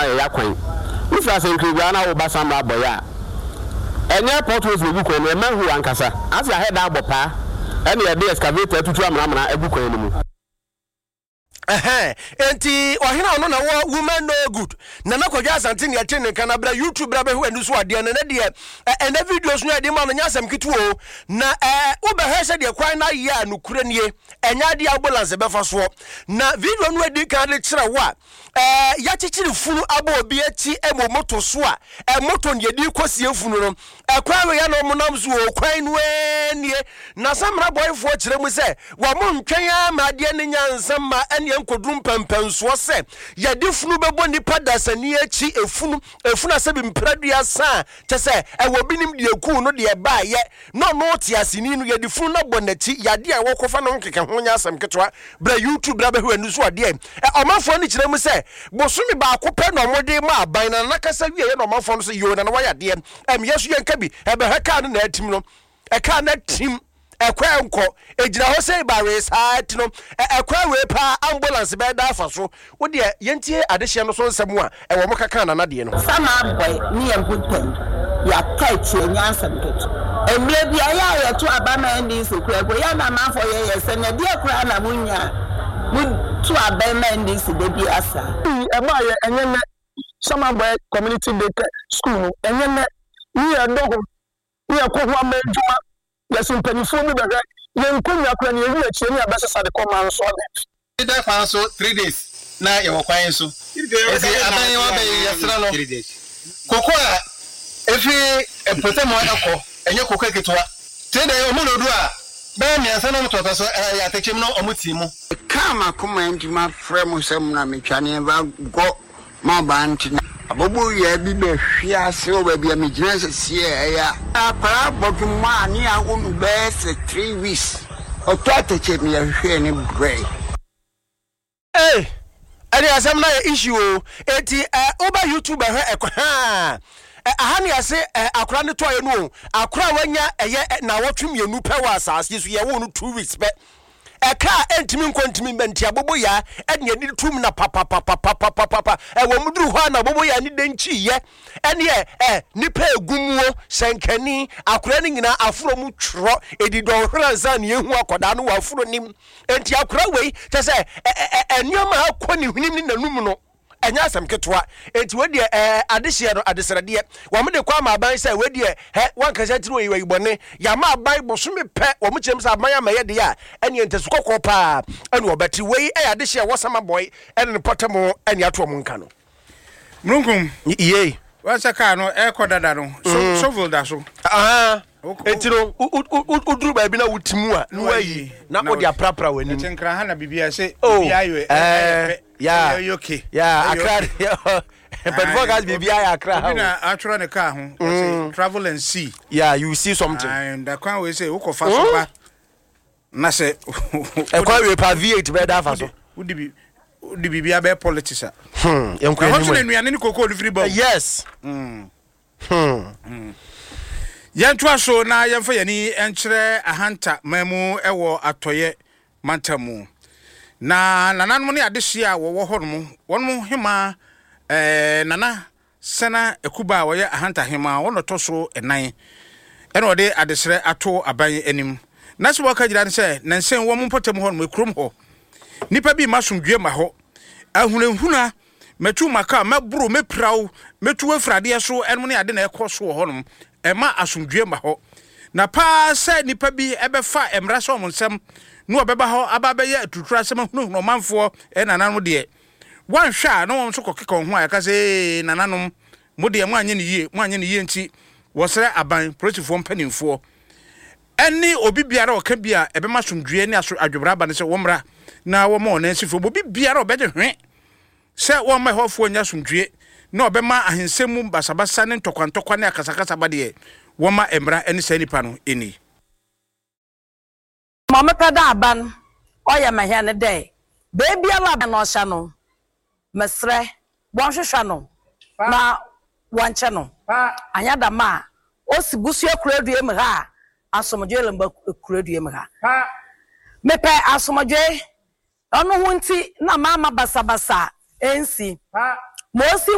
yɛyɛ akwan. Wofiri Asankragua na woba Samra abɔeɛ a, ɛnyɛ potholes na ɛgu kwan no mu, ɛyɛ manhole ankasa. Ase ahɛ da abɔ paa ɛna yɛde excavator atutu amenamena agu kwan no mu. Ɛhɛn, enti ɔhene a ɔno na wɔ woman no good. Nana Kwadwo Asante ne ɛte ne nka na bra YouTube bra bɛhwɛ w'ani so adeɛ no. Ɛnɛ deɛ, ɛ, ɛnɛ videos no a yɛde ma no nyɛ asɛm ketewa o. Na ɛ, wobɛhwɛ sɛ deɛ kwan no ayɛ a nokorɛ nie, ɛnyɛ adeɛ a ambulance bɛfa soɔ. Na video no adi kan de kyerɛ wo a, ɛ, yɛakyekyere funu abɔ obi akyi wɔ moto so a, ɛ, moto no yɛde rekɔsie funu no. Ɛkwan wei a na wɔnam so o, kwan no ara nie. Na Samina bɔefoɔ kyerɛ mu sɛ, wɔntwɛn ara ma adeɛ no nya nsa mma ɛnneɛ nkɔduru mpɛnpɛnsoɔ sɛ yɛde funu bɛbɔ nnipa dasani akyi, efunu, efunu a sɛbi mprɛduasa a kyɛ sɛ ɛwɔ binom deɛ ɛkuu no deɛ ɛbaeɛ na ɔno ɔteaseni no yɛde funu no abɔ n'akyi, yadeɛ a wɔkɔfa no ho nkeka ho nyɛ asɛm ketewa. Bra YouTube bra bɛhwɛ w'ani so adeɛ. Ɛ, ɔmanfoɔ no kyerɛ mu sɛ bosome baako pɛ na wɔde ma aban na Nana kasa wieɛ na ɔmanfoɔ no sɛ yoo Nana wayɛ adeɛ. Ɛm yɛ so yɛnka bi. Ɛbɛhwɛ kaa no na atim no. Ɛkaa no atim. Ɛkɔ ɛnkɔ. Ɛgyina hɔ sɛ bawee saa ti no. Ɛ, ɛkwan wei paa ambulance bɛda afa so. Wo deɛ yɛntie adehyeɛ no so nsɛm a ɛwɔ mo kaka Nana deɛ no. Sama abɔe ne yɛn ho ntɛm. Yɛaka akyi ɛnyɛ asɛm ketewa. Mmerɛ bi a ɛyɛ a yɛto aba ma NDC koraa mpo yɛ a na amanfoɔ yɛ yɛn sɛ na ɛdeɛ koraa na monya a moto aba ma NDC da biara saa. Yi ɛbaeɛ ɛnyɛ nnɛ. Sama Abɔe Community Day Care School no ɛnyɛ nnɛ. Ne yɛdɔ ho ne yɛkɔ ho ama adwuma. Yɛse mpaninfoɔ bi bɛhwɛ yɛn nkonwa koraa ne yɛwi akyire ne yɛabɛsesa de kɔ manso abɛn. Yɛda kwan so 3 days na yɛwɔ kwan so. Nti aban yi waba yi yɛsrɛ no koko a ɛfiri mpɔtam hɔ ɛkɔ ɛnyɛ koko ketewa. 3 days ɔmo lodu a bɛyɛ mmiɛnsa na ɔmo toatoa so ɛyɛ atɛkyɛm na ɔmo tii mu. Mekaa m'akoma nti mafrɛ mo sɛ mo na metwa ne ɛba gɔ m'abaa nti na. Aboboyaa bi bɛhwe ase wɔ baabi a megyina seseɛ ɛyɛ a. Akwadaa bɔdwoma a ne awo no bɛyɛ sɛ 3 weeks ɔtɔ atɛkyɛ mi yɛhwehwɛɛ ne brɛ. Ei ɛne asɛm no ayɛ issue o. Enti ɛ woba YouTube bɛhwɛ ɛkɔ haa ɛ aha ne yɛse ɛ akora no tɔeɛ no o. Akora a wanya ɛyɛ ɛ naawɔtwe 2 pɛ wɔ asaase so, yɛwoo no 2 weeks pɛ. Ɛka a ɛntumi nkɔ ntumi mba nti aboboyaa ɛne yɛde tum na papapapapapapa ɛwɔ mu duru hɔ a na aboboyaa ne dɛn kyiiɛ ɛne ɛ ɛ nipa egu muo sɛnkani akora no nyinaa aforo mu twerɛ ɛdi dɔnhwere ansa ne yɛhu akwadaa no wɔ aforo nim. Enti akora wei kyɛ sɛ ɛ ɛ ɛ nneɛma a akɔ ne hwenem ne n'anum no ɛnyɛ asɛm ketewa. Enti wei deɛ ɛɛ adehyeɛ no adesrɛdeɛ wɔn de kɔ ama aban sɛ wei deɛ hɛ wankasa tiri wɔ yi bɔne yɛama aban bosome pɛ wɔn kyerɛ mu sɛ aban ama yɛ deɛ a ɛneɛ ntasu kɔkɔɔ paa ɛne wɔbɛte. Wei ɛyɛ adehyeɛ wɔ Samabɔe ɛne ne pɔtɛmo ɛne ato wɔn nka no. Mununkum. Yie. Wɔn sɛ kaa no ɛrekɔ dada no. So shovel da so. Eti no woduru baabi na woti mu a na wayi na wode aprapra w'anim. Ɛte nkran ha na biribi a ɛsɛ biribi ayɛ ɛyɛ pɛ. Ya ɛyɛ okay. Ya Akra mpanyinfoɔ ka biribi ayɛ Akra ha. Obi na atwerɛ ne kaa ho. Ɔsɛ travel and see. Yeah, you see something. And kwan wei sɛ wokɔ fa so ba na sɛ. Ɛkwan wei pa V8 bɛɛ da afa so. Wodi bi wodi biribi abɛyɛ politics a. Yɛn kɔ anim. Ɛhɔ nso na nnuane ne koko no firi ba o. Yes. Yɛntoa so na yɛmfa yɛn ani nkyerɛ Ahanta man mu wɔ Atɔeɛ mantam mu. Na nananom ne adehyeɛ a wɔwɔ hɔnom, wɔn hemaa eh, Nana Sena Akuba a ɔyɛ Ahanta hemaa, wɔn na ɔtɔ so nnan, ɛna ɔde adesrɛ ato aban anim. Na sɛ wɔka gyina ne sɛ, nansa yi wɔn mpɔtam hɔnom, kurom hɔ, nnipa bi mma asomdwoeɛ mma hɔ, ahunahuna. Mɛtu maka, mɛboro, mɛpira wo, mɛtu wo afiri adeɛ so, ɛnom ne ade na ɛkɔ so wɔ hɔnom. Ɛmma asomdwoeɛ mma hɔ. Na paa sɛ nnipa bi bɛfa mmara hyɛ wɔn nsam na wɔbɛba hɔ aba abɛyɛ aturuturasɛm asɛm ahunahuna ɔmanfoɔ nananom deɛ, wɔanhwɛ a na wɔn nso kɔkeka wɔn ho a ɛka sɛ, Ee, nananom, mo deɛ moanyɛ no yie, moanyɛ no yie nti wɔsrɛ aban, polisifoɔ mpanimfoɔ, ne obi biara a ɔka bi a ɛbɛma asomdwoeɛ ne aso adwobra aba no sɛ wɔmmra na wɔmma wɔn nan nsi fam. Obi biara a ɔbɛgye hwe sɛ wɔmma ɛhɔfoɔ nnya asomdwoeɛ na ɔbɛma ahensɛm mu basabasa ne ntɔkwantɔkwa ne akasakasa ba deɛ, wɔmma mmara ne saa nipa no nni. Ma mepɛ dɛ aban ɔyɛ ma hɛn ne dɛ, beebiara a no ɔhyɛ no, meserɛ wɔnhwehwɛ no na wɔnkyɛ no. Annyɛ dɛm a, osi busua kurodua mu ha a, asomdwee remmba kurodua mu ha. Mepɛ asomdwee, ɔno ho ntsi na mamma basabasa ennsi. Ma osi wɔ.